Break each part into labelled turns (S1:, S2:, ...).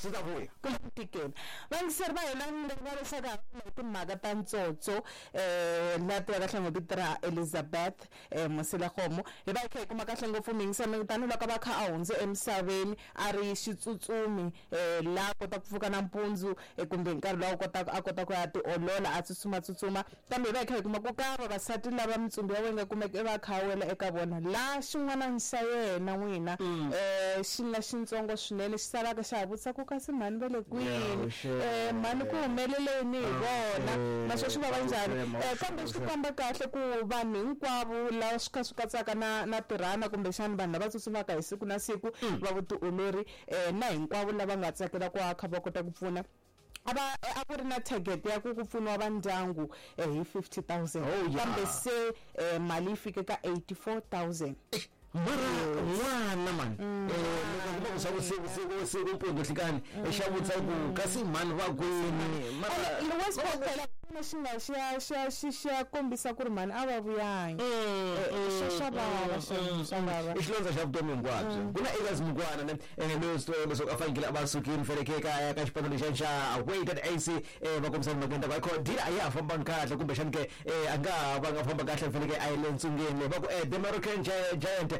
S1: Swi ta vuya.
S2: Ku le ku tikeni. Vayingiseri va hina ni nga leswaku ha hi timhaka ta ntsotso la tivaka kahle ngo vito ra Elizabeth Moselekgomo. Hi va hi kha hi kuma kahle ngopfu muyingiseri tanihiloko a va kha a hundze emisaveni a ri xitsutsumi la kota ku pfuka nampundzu kumbe hi nkarhi lowu kotaka a kota ku ya tiolola a tsutsuma tsutsuma, kambe hi va hi kha hi kuma ku ka vavasati lava mitsumbu ya wena yi nga kumeka i va a kha a wela eka vona la xin'wana xa yena n'wina xi nga xintsongo swinene xi salaka xa ha vutisa ku kasi mhani va le kwini, mhani ku humelele yini hi vona, naswona swi vava njhani. Kambe swi komba kahle ku vanhu hinkwavo lava swi kha swi katsaka na na tirhana kumbexana vanhu lava tsutsumaka hi siku na siku va vutiolori na hinkwavo lava nga tsakela ku akha va kota ku pfuna. A va a ku ri na target ya ku ku pfuniwa va ndyangu hi 50,000
S1: Oh, yeah.
S2: kambe se mali yi fike ka 84,000.
S1: Mara n'wana mani loko kuma ku swa vusiku siku siku mpundzu nhlikani xa vutisa ku kasi mhani va kwini mara
S2: Ene Westport phela xi nga xi ya xi ya xi xi ya kombisa ku ri mhani a va vuyangi. Swa vava swa vava.
S1: I xilondza xa vutomi hinkwabyo. Ku na Elias Mukwana ne loyi swi tiva leswaku a fanekele a va sukile fanekele ka ka xipano lexiya xa Wydad AC va kombisa mhaka ta ku deal a ya ha fambangi kahle kumbexani ke a nga ha va nga famba kahle fanekele a yi le ntsungeni leyi va ku the Moroccan Giant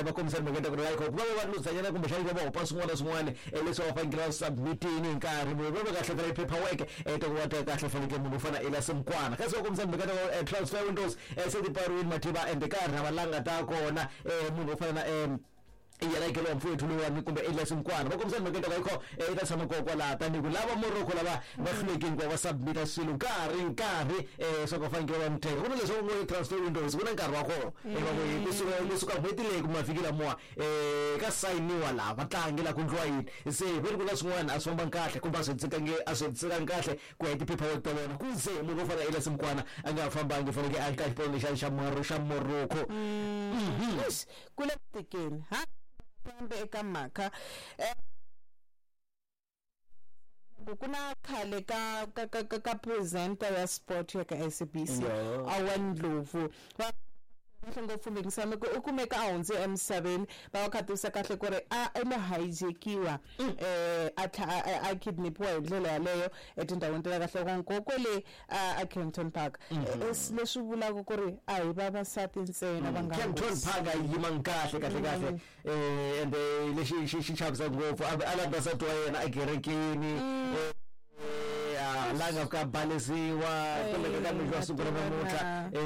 S1: va kombisa mhaka ta ku ri ku va va luzanyana kumbexani va va hopa swin'wana na swin'wana leswi va fanekele va submitini hi nkarhi va va kahle vela paperwork ta ku va ta kahle fanekele munhu u fana Elias Mukwana kasi va kombisa mhaka ta ku transfer windows se ti pfariwile mativa and ka ha ri langa ta kona munhu wo fana na yena ikelo mfowethu lowani kumbe Elias Mukwana va kombisa mhaka ta ku ayikho i ta tshama kona kwalaha tanihi ku lava Morocco lava va hlulekile ku va va submita swilo nkarhi nkarhi swa ku va fanekele va n'wi teka ku na leswi ngo transfer windows ku na nkarhi wa kona va ku kusuka kusuka n'hweti leyi ku mavhiki lamuwa ka sayiniwa laha vatlangi la ku ndliwa yini se ve ri ku na swin'wana a swi fambangi kahle kumbe a swi hetisekangi a swi hetisekangi kahle ku ya hi ti-paperwork ta vona ku ze munhu wo fana na Elias Mukwana a nga ha fambangi fanekele a ri ka xipano lexiya xa xa Morocco.
S2: Eish, ku le ku tikeni ha kambe eka mhaka ku na khale ka ka ka ka ka presenter ya sport ya ka SABC Owen Ndlovu va kahle ngopfu Mingisani ku u kumeka a hundze emisaveni va va kha tivisa kahle ku ri a i lo hijackiwa a tlha a kidnapiwa hi ndlela yaleyo etindhawini ta le kahle ko kwele a Kempton Park leswi vulaka ku ri a hi vavasati ntsena va nga
S1: Kempton Park a yi yimangi kahle kahle kahle ende lexi xi xi chavisaka ngopfu a a landa nsati wa yena ekerekeni a la nga fika a balesiwa kumbe ka mixo wa siku ra namuntlha.